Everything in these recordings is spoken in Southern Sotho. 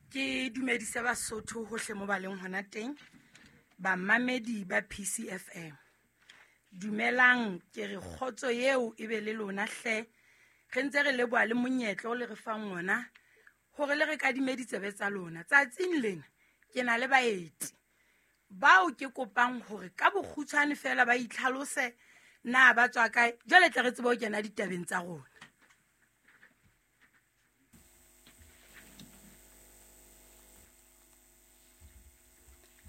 Ke dumedise Basotho hohle mo ba leng hona teng, bamamedi ba PCFM. Dumelang, ke re kgotso eo e be le lona hle. Re ntse re leboha le monyetla o le re fang ona hore le re kadime ditsebe tsa lona. Tsatsing lena ke na le baeti bao ke kopang hore ka bokgutshwane fela ba itlhalose na ba tswa kae, jwale tle re tsebe ho kena ditabeng tsa rona.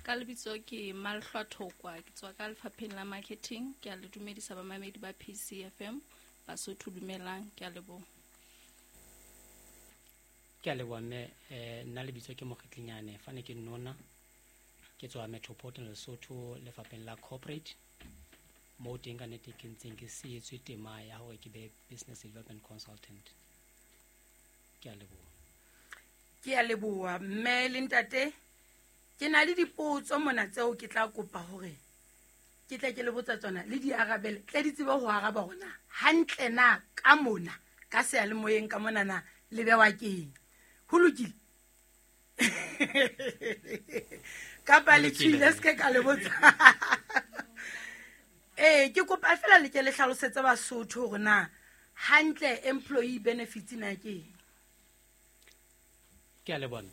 Ka lebitso ke Malhlwa Thokwa, ke tswa ka lefapheng la marketing. Ke a le dumedisa bamamedi ba PCFM, Basotho dumelang, ke a leboha. Ke a leboha mme. Nna lebitso ke Mokgitlinyane fane ke nona, ke tswa Metropolitan Lesotho lefapheng la corporate, moo teng ka nnete ke ntseng ke sietswe tema ya hore ke be business development consultant. Ke a leboha. Ke a leboha mme le ntate. Ke na le dipotso mona tseo ke tla kopa hore ke tle ke le botsa tsona le di arabele, tle di tsebe ho araba hore na hantle na ka mona ka seyalemoyeng ka mona na le bewa keng. Ho lokile? Kapa le tshwile se ke ka le botsa. Ee, ke kopa fela le ke le hlalosetse Basotho hore na hantle employee benefits na ke eng. Ke a leboha.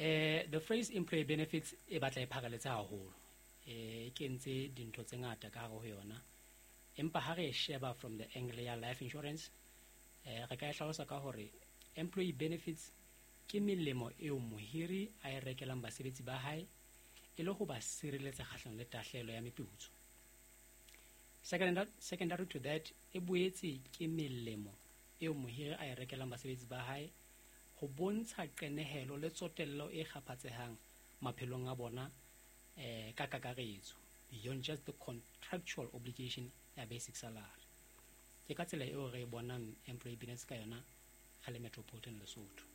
The phrase employee benefits e batla e pharaletse haholo. E kentse dintho tse ngata ka hare ho yona. Empa ha re e sheba from the angle ya life insurance, re ka e hlalosa ka hore employee benefits ke melemo eo mohiri a e rekelang basebetsi ba hae e le ho ba sireletsa kgahlanong le tahlehelo ya meputso. Secondary to that, e boetse ke melemo eo mohiri a e rekelang basebetsi ba hae ho bontsha qenehelo le tsotello e kgaphatsehang maphelong a bona ka kakaretso, beyond just the contractual obligation ya basic salary. Ke ka tsela eo re bonang employee benefits ka yona re le Metropolitan Lesotho.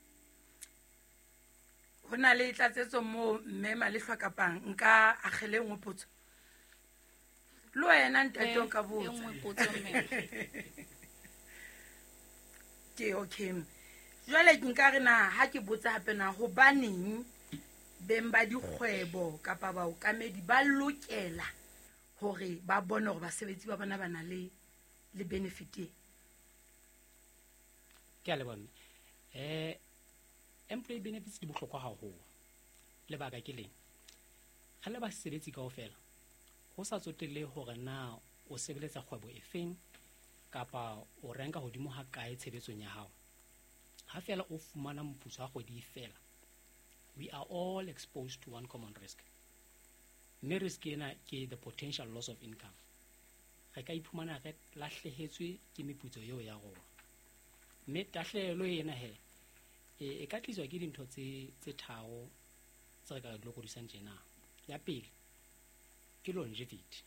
Ho na le tlatsetso moo mme Malehlwa kapang nka akgele nngwe potso? Le wena ntate o ka botsa. E nngwe potso mme. Ke okay. Jwale ke nka re na ha ke botsa hape na hobaneng beng ba dikgwebo kapa baokamedi ba lokela hore ba bone hore basebetsi ba bona ba na le benefit e? Ke a leboha mme. Employee benefits di bohlokwa haholo. Lebaka ke leng? Re le basebetsi kaofela, ho sa tsotelle hore na o sebeletsa kgwebo efeng kapa o renka hodimo ha kae tshebetsong ya hao, ha fela o fumana moputso wa kgwedi fela, we are all exposed to one common risk. Mme risk ena ke the potential loss of income. Re ka iphumana re lahlehetswe ke meputso eo ya rona. Mme tahlehelo ena he e ka tliswa ke dintho tse tharo tse re ka di lokodisang tjena. Ya pele ke longevity,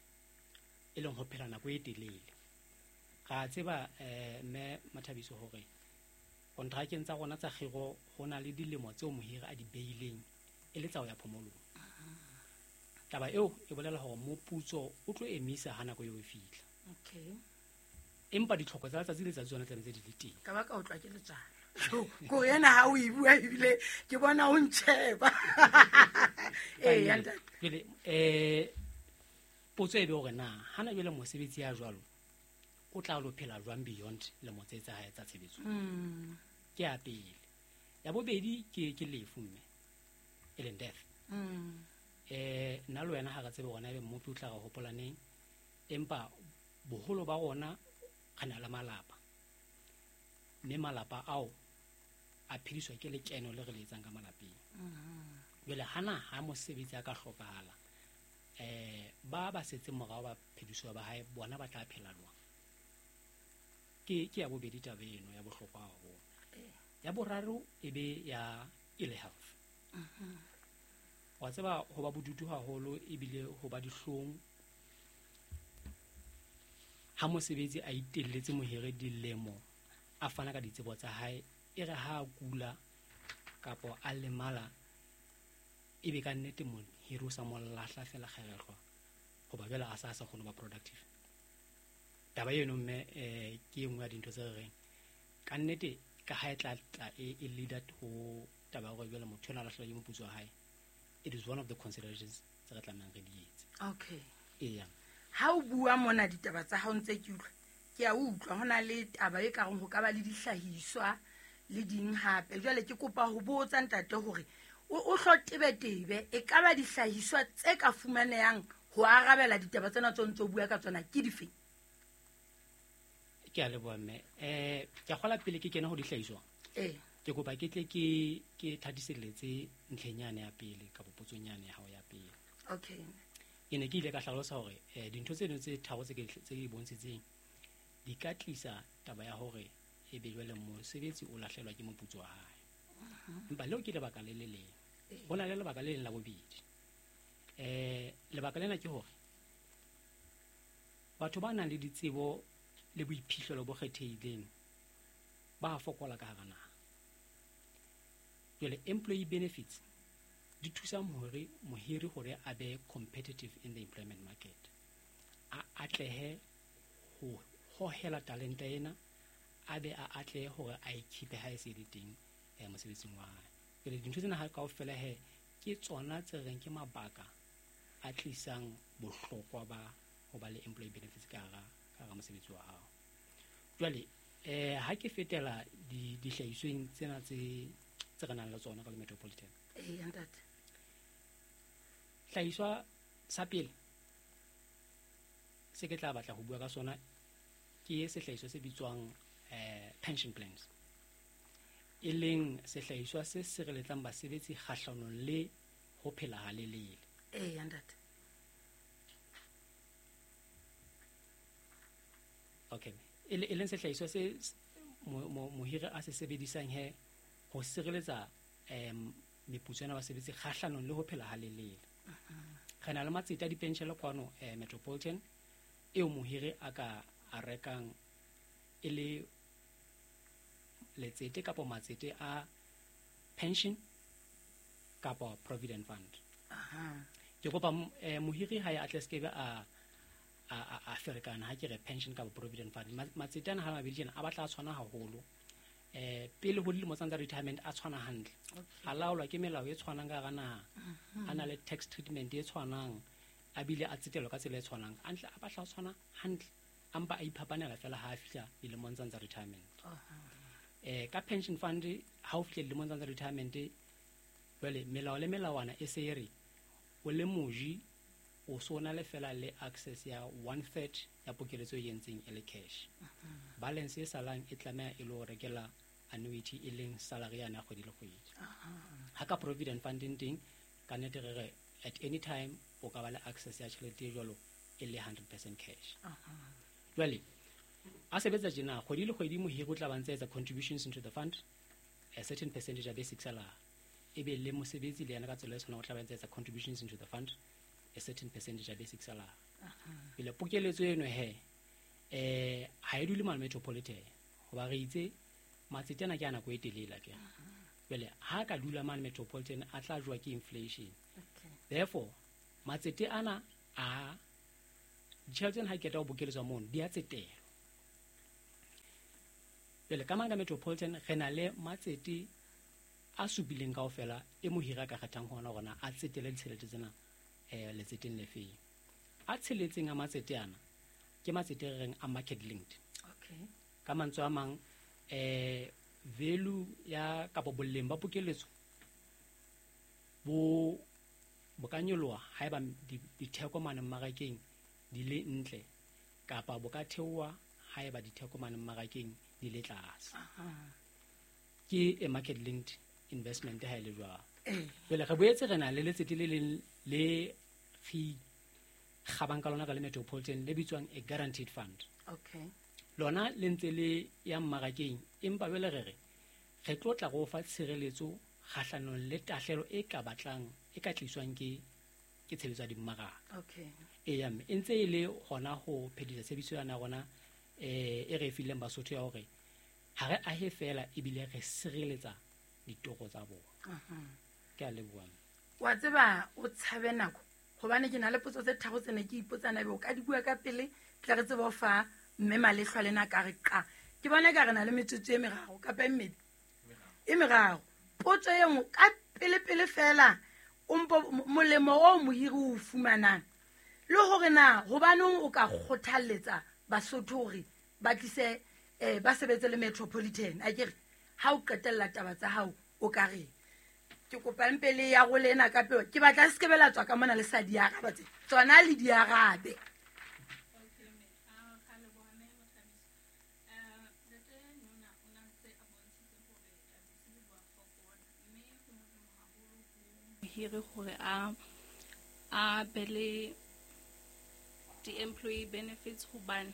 e leng ho phela nako e telele. Ra tseba mme Mathabiso hore kontrakeng tsa rona tsa kgiro ho na le dilemo tseo mohiri a di beileng e le tsa ho ya phomolong. Taba eo e bolela hore moputso o tlo emisa ha nako eo e fihla. Okay. Empa ditlhoko tsa letsatsi le letsatsi tsona tlamehetse di le teng. Ka ba ka utlwa ke letswalo. Ko ena ha o e bua ebile ke bona o ntjheba. Ee, ya ntate. Jwale, potso e be hore na hana jwale mosebetsi ya jwalo o tla lo phela jwang beyond lemo tse tsa hae tsa tshebetso? Ke ya pele. Ya bobedi ke lefu mme, e leng death. Nna le wena ha re tsebe hore na ebe mmopi o tla re hopola neng, empa boholo ba rona re na le malapa, mme malapa ao a phediswa ke lekeno le re le etsang ka malapeng. Jwale hana ha mosebetsi a ka hlokahala, ba setseng morao ba phediswa ba hae bona ba tla phela jwang? Ke ya bobedi taba eno ya bohlokwa haholo. Ya boraro e be ya ill health. Wa tseba ho ba bodutu haholo ebile ho ba dihlong ha mosebetsi a itelletse mohiri dilemo a fana ka ditsebo tsa hae, e re ha a kula kapa a lemala ebe ka nnete mohiri o sa mo lahla fela kgerehlwa hoba jwale a sa kgone ho ba productive. Taba eno mme ke e nngwe ya dintho tse re reng ka nnete Ka ha e tla tla e leader ho taba ya hore jwale motho enwa a lahlehelwa ke moputso wa hae, it is one of the considerations tse re tlamehang re di etse. Okay. Eya. Ha o bua mona ditaba tsa hao ntse ke utlwa, ke a utlwa ho na le taba e kareng ho ka ba le dihlahiswa le ding hape. Jwale ke kopa ho botsa ntate hore o hlo tebetebe e ka ba dihlahiswa tse ka fumanehang ho arabela ditaba tsena tse o ntso bua ka tsona ke dife? Ke a leboha mme. Ke a kgola pele ke kena ho dihlahiswa. Ee. Ke kopa ke tle ke thatiselletse ntlheng yane ya pele kapa potsong yane ya hao ya pele. Okay. Ke ne ke ile ka hlalosa hore dintho tseno tse tharo tse ke bontshitseng di ka tlisa taba ya hore e be jwale mosebetsi o lahlehelwa ke moputso wa hae. Empa leo ke lebaka le le leng. Ho na le lebaka le leng la bobedi. Lebaka lena ke hore batho ba nang le ditsebo le boiphihlelo bo kgethehileng ba fokola ka hara naha. Jwale employee benefits di thusa mohiri hore a be competitive in the employment market. A atlehe ho hohela talente ena, a be a atlehe hore a e keep-e ha e se le teng mosebetsing wa hae. Jwale dintho tsena ha kaofela he ke tsona tse reng ke mabaka a tlisang bohlokwa ba ho ba le employee benefits ka hara mosebetsi wa hao. Jwale ha ke fetela dihlahisweng tsena tse re nang le tsona ka le Metropolitan. Ee, ntate. Hlahiswa sa pele se ke tla batla ho bua ka sona ke sehlahiswa se bitswang pension plans, e leng sehlahiswa se sireletsang basebetsi kgahlanong le ho phela halelele. Ee, ntate. Okay. E leng sehlahiswa se mohiri a se sebedisang he ho sireletsa meputso ya basebetsi kgahlanong le ho phela halelele. Re na le matsete a dipenshele kwano Metropolitan eo mohiri a ka a rekang e le letsete kapa matsete a pension kapa provident fund. Ke kopa mohiri ha ya atle skebe a ferekana ha ke re pension kapa provident fund. Matsete ana ha mabedi tjena a batla a tshwana haholo. Pele ho dilemo tsa retirement a tshwana hantle. A laolwa ke melao e tshwanang ka hara naha. A na le tax treatment e tshwanang, a bile a tsetelwa ka tsela e tshwanang. Hantle a batla a tshwana hantle, a mpa a iphapanela fela ha a fihla dilemong tsa retirement. Ka pension fund ha o fihla dilemong tsa retirement, jwale melao le melawana e se e re o le moji o so na le fela le access ya 1/3 ya pokeletso e entseng e le cash. Balance e salang e tlameha e lo rekela annuity e leng salary ya kgwedi le kgwedi. Ha ka provident fund teng ka nnete re re at any time o ka ba le access ya tjhelete e jwalo e le 100% cash. Jwale a sebetsa tjena kgwedi le kgwedi mohiri o tla ba ntse etsa contributions into the fund a certain percentage ya basic salary, e be le mosebetsi le yena ka tsela e tshwanang o tla ba ntse etsa contributions into the fund a certain percentage ya basic salary. Pele pokeletso eno he ha e dule mane Metropolitan hoba re itse matsete ana ke a nako e telele ke. Jwale ha ka dula mane Metropolitan a tla jowa ke inflation. Therefore matsete ana a ditjhelete ha ke qeta ho bokeletswa mono di a tsetelwa. Jwale ka mane ka Metropolitan re na le matsete a supileng kaofela e mohiri a ka kgethang hona hore na a tsetele ditjhelete tsena letseteng le feng. A tsheletseng a matsete ana ke matsete re reng a market linked. Okay. Ka mantswe a mang value ya kapa boleng ba pokeletso bo ka nyoloha haeba ditheko mane mmarakeng di le ntle kapa bo ka theoha haeba ditheko mane mmarakeng di le tlase. Ke a market linked investment ha e le jwalo. Jwale re boetse re na le letsete le leng le re kgabang ka lona ka le Metropolitan le bitswang a guaranteed fund. Okay. Lona le ntse le ya mmarakeng empa jwale re re re tlo tla go fa tshireletso kgahlanong le tahlelo e ka batlang e ka tliswang ke tshebetso ya dimmaraka. Okay. Eya mme e ntse e le hona ho phedisa tshebetso yana rona e re fileng Basotho ya hore ha re ahe fela ebile re sireletsa ditoro tsa bona. Ke a leboha. Wa tseba o tshabe nako hobane ke na le potso tse tharo tse ne ke ipotsana ebe o ka di bua ka pele tle re tsebe ho fa mme Malehlwa lena ka re qa. Ke bona ka re na le metsotso e meraro kapa e mmedi e meraro. Potso e nngwe ka pele pele fela o mpo molemo o mohiri o fumanang le hore na hobaneng o ka kgothalletsa Basotho hore ba tlise ba sebetse le Metropolitan. Akere ha o qetella taba tsa hao o ka reng? Ke kopa mpe le ya role ena ka peo. Ke batla se ke bela tswa ka mona le sa di araba tse. Tsona le di arabe. Hire hore a be le di-employee benefits, hobane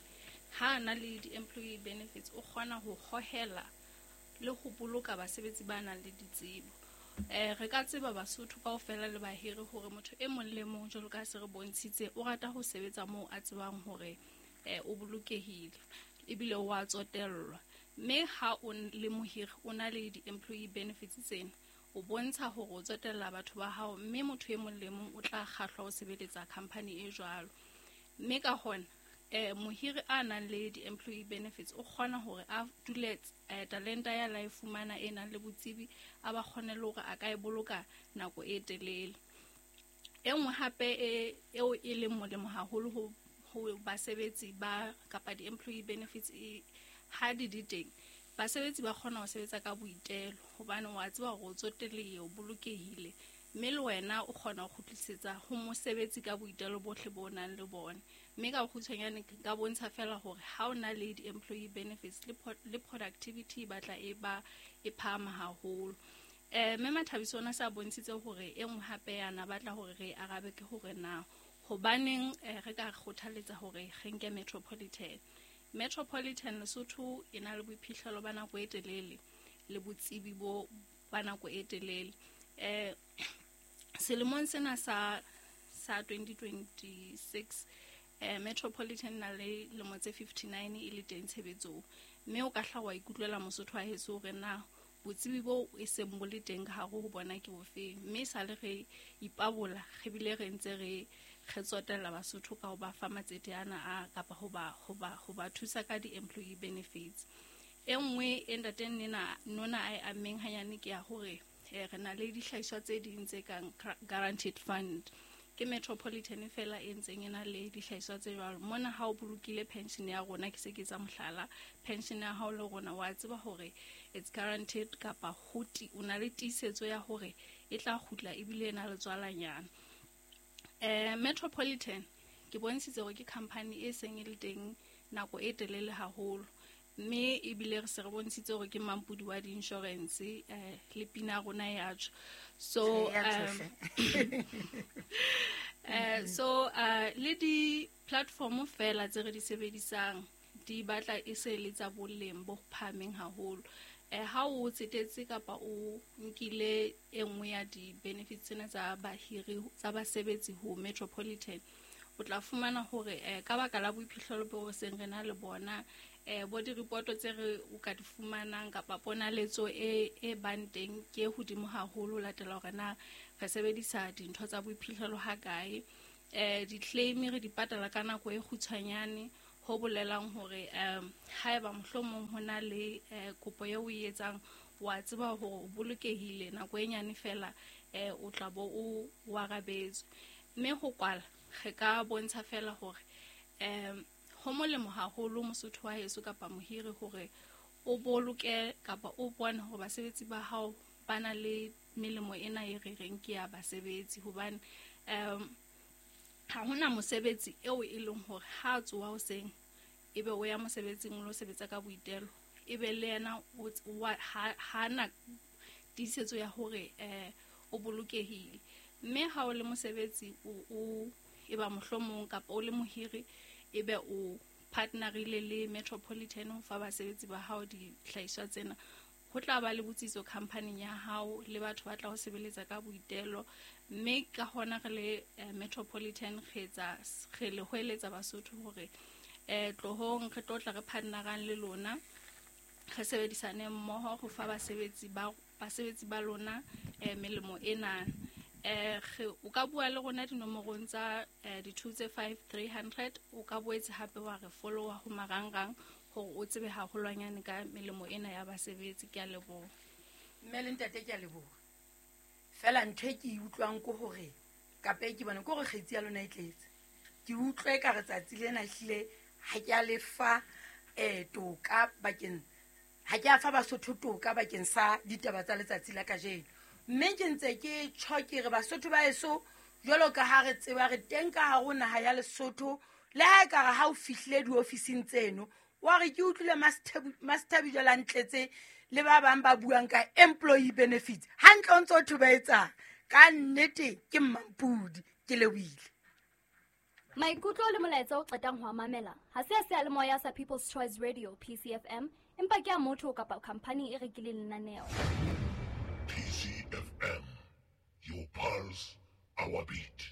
ha na le di-employee benefits o kgona ho hohela le ho boloka basebetsi ba nang le ditsebo. Re ka tseba Basotho kaofela le bahiri hore motho e mong le mong jwalo ka se re bontshitse o rata ho sebetsa moo a tsebang hore o bolokehile ebile o a tsotellwa. Mme ha o le mohiri o na le di-employee benefits tsena, o bontsha hore o tsotella batho ba hao, mme motho e mong le mong o tla kgahlwa ho sebeletsa company e jwalo. Mme ka hona mohiri a nang le di-employee benefits o kgona hore a dule talenta ya la e fumana e nang le botsebi, a ba kgone le hore a ka e boloka nako e telele. E nngwe hape eo e leng molemo haholo ho basebetsi ba kapa di-employee benefits ha di di teng, basebetsi ba kgona ho sebetsa ka boitelo hobane wa tseba hore o tsotellehile, o bolokehile, mme le wena o kgona ho kgutlisetsa ho mosebetsi ka boitelo bohle bo nang le bona. Mme ka bokgutshwanyane ka bontsha fela hore ha o na le di-employee benefits le productivity e batla e ba e phahama haholo. Mme Mathabiso ona sa bontshitse hore e nngwe hape yana batla hore re arabe ke hore na hobaneng re ka kgothaletsa hore re nke Metropolitan. Metropolitan Lesotho e na le boiphihlelo ba nako e telele le botsebi bo ba nako e telele. Selemong sena sa 2026 Metropolitan na le lemo tse 59 e le teng tshebetsong, mme o ka hla wa ikutlwela Mosotho wa heso hore na botsebi bo e seng bo le teng ka hare ho bona ke bofeng. Mme sale re ipabola re bile re ntse re tsotella Basotho ka ho ba fa matsete ana a kapa ho ba thusa ka di-employee benefits. E nngwe e ntate Nona a e ammeng hanyane ke ya hore re na le dihlahiswa tse ding tse kang guaranteed fund. Ke Metropolitan fela e ntseng e na le dihlahiswa tse jwalo. Mona ha o bolokile pension ya rona, ke se ke tsa mohlala, pension ya hao le rona wa tseba hore it's guaranteed kapa ho o na le tiisetso ya hore e tla kgutla ebile e na le tswalanyana. Metropolitan ke bontshitse hore ke company e seng e le teng nako e telele haholo, mme ebile re se re bontshitse hore ke mampodi wa di-insurance le pina rona ya tjho. So le di-platform fela tse re di sebedisang di batla e se le tsa boleng bo phahameng haholo. Ha o tsetetse kapa o nkile e nngwe ya di-benefits tsena tsa bahiri tsa basebetsi ho Metropolitan, o tla fumana hore ka baka la boiphihlelo bo seng re na le bona, bo di-report tse re o ka di fumanang kapa ponaletso e bang teng ke hodimo haholo latela hore na re sebedisa dintho tsa boiphihlelo ha kae. Di-claim re di patala ka nako e kgutshwanyane, ho bolelang hore haeba mohlomong ho na le kopo eo o e etsang, wa tseba hore o bolokehile nako e nyane fela o tla bo o arabetswe. Mme ho kwala re ka bontsha fela hore ho molemo haholo Mosotho wa heso kapa mohiri hore o boloke kapa o bone hore basebetsi ba hao ba na le melemo ena e re reng ke ya basebetsi, hobane ha hona mosebetsi eo e leng hore ha a tsoha hoseng ebe o ya mosebetsing o lo sebetsa ka boitelo, ebe le yena ha na tiisetso ya hore o bolokehile. Mme ha o le mosebetsi o eba mohlomong kapa o le mohiri ebe o partnerile le Metropolitan ho fa basebetsi ba hao dihlahiswa tsena, ho tla ba le botsitso company ya hao le batho ba tla ho sebeletsa ka boitelo. Mme ka hona re le Metropolitan re le hoeletsa Basotho hore tlohong re tlo tla re partnerang le lona, re sebedisane mmoho ho fa basebetsi ba lona melemo ena. O ka bua le rona dinomorong tsa di 2 tse 5 300, o ka boetse hape wa re followa ho marangrang hore o tsebe haholwanyane ka melemo ena ya basebetsi. Ke a leboha. Mme le ntate, ke a leboha. Fela ntho e ke e utlwang ke hore kapa e ke bona ke hore kgetsi ya lona e tletse. Ke utlwe ka re tsatsi lena ehlile ha ke a lefa toka bakeng, ha ke a fa Basotho toka bakeng sa ditaba tsa letsatsi la kajeno. Mme ke ntse ke tjho ke re Basotho ba heso, jwalo ka ha re tseba re teng ka hare ho naha ya Lesotho, le ha e ka re ha o fihlile diofising tseno wa re ke utlwile Master jwale a ntletse le ba bang ba buang ka employee benefits, hantle o ntso thwe ba etsang. Ka nnete ke mmampudi, ke lebohile. Maikutlo le molaetsa o qetang ho a mamela ha se a seyalemoya sa People's Choice Radio PCFM, empa ke a motho kapa khampani e rekileng lenaneo. PCFM, your pulse, our beat.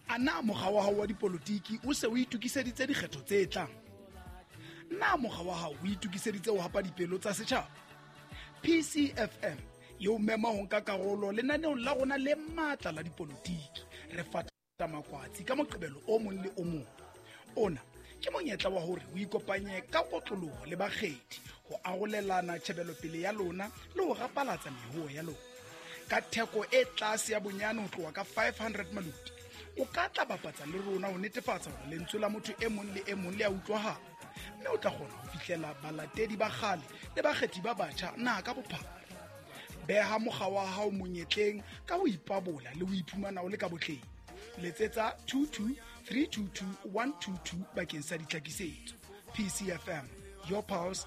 A na mokga wa hao wa dipolotiki o se o itokiseditse dikgetho tse tlang? Na mokga wa hao o itokiseditse ho hapa dipelo tsa setjhaba? PCFM e o mema ho nka karolo lenaneong la rona le matla la dipolotiki. Re fata makwatsi ka Moqebelo o mong le o mong. Ona ke monyetla wa hore o ikopanye ka kotloloho le bakgethi ho arolelana tjhebelopele ya lona le ho rapalatsa mehoo ya lona. Ka theko e tlase ya bonyane ho tloha ka 500 maluti, o ka tla bapatsa le rona ho netefatsa hore lentswe la motho e mong le e mong le a utlwahala, mme o tla kgona ho fihlela balatedi ba kgale le bakgethi ba batjha naha ka bophara. Beha mokga wa hao monyetleng ka ho ipabola le ho iphumana o le ka botleng. Letsetsa 22 322 122 bakeng sa ditlhakisetso. PCFM, your pulse,